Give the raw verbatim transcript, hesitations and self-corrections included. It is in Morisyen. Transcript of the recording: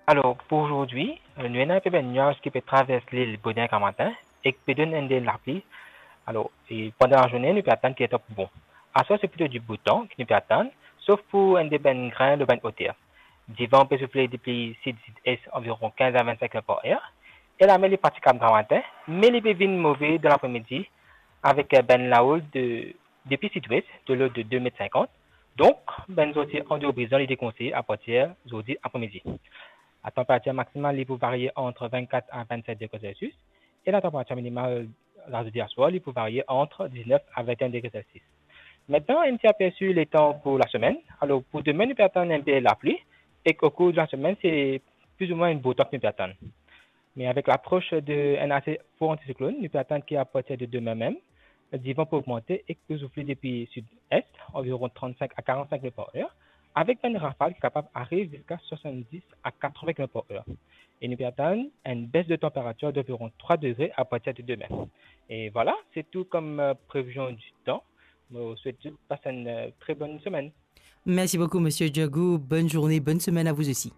Alor, pou zordi, nou ena enpe bann nwaz ki pe travers lil boner gramatin ek pe donn enn de lapli. Alor, e pandan lazourne, nou pe atann ki letan pou bon. Aswar, se plito di boutan ki nou pe atann, sof pou enn de bann grin lor bann oter. Divan pe soufle depi sid-sid-es anviron kinz a vennsenk kilomèt par er, e lamer li pratikab gramatin, me li pe vinn move dan lapremidi avek, eh, bann lahoul de, depi sidwes, de lord de de met sinkant. Donk, bann sorti andeor Brizan, li dekonseye apartir zordi apremidi. Latanperatir maksimal, li pou varie ant vennkat a vennset degre Celsius, e latanperatir minimal, la zordi aswar, li pou varie ant diznef a vennenn degre Celsius. Aster, enn ti apersi letan pou lasemenn. Alor, pou demin, nou pe atann enpe lapli, ek okour de lasemenn, se plizoumwin enn bo tan ki nou pe atann. Me avek lapros de enn ase for antisiklonn, nou pe atann ki apartir de demin mem, divan pou ogmante ek pou soufle depi sid-es, anviron trannsink a karannsink kilomèt par er, avek bann rafal ki kapav ariv ziska swasanndis a katreven kilomèt par er. E nou pe atann enn bes de tanperatir d'anviron trwa degre apartir de demin. E vwala, se tou kom, eh, previzion di tan. Mo swet zot pas enn, eh, tre bonn semenn. Merci beaucoup, Monsieur Djagou. Bonne journée, bonne semaine à vous aussi.